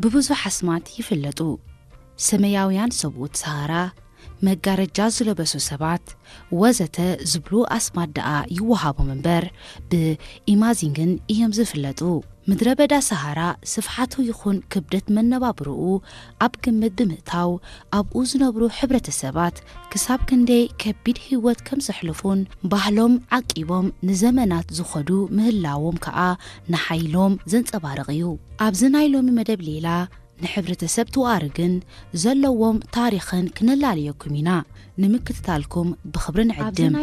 ብብዙሕ ኣስማት ይፍለጡ። ሰማያውያን ሰብኡት ሰሃራ፣ መጋረጃ ዝለበሱ ሰባት፣ ወዘተ ዝብሉ ኣስማት ደኣ ይወሃቦም እምበር፣ ብኢማዚንግን እዮም ዝፍለጡ። ምድረ በዳ ሰሃራ ስፍሓቱ ይኹን ክብደት መነባብርኡ ኣብ ግምት ብምእታው፣ ኣብኡ ዝነብሩ ሕብረተሰባት ክሳብ ክንደይ ከቢድ ህይወት ከም ዘሕልፉን ባህሎም ዓቂቦም ንዘመናት ዝኸዱ ምህላዎም ከኣ ንሓይሎም ዘንጸባርቕ እዩ። ኣብዚ ናይ ሎሚ መደብ ሌላ ንሕብረተሰብ ትዋርግን ዘለዎም ታሪኽን ክነላለየኩም ኢና። ንምክትታልኩም ብኽብሪ ንዕድም።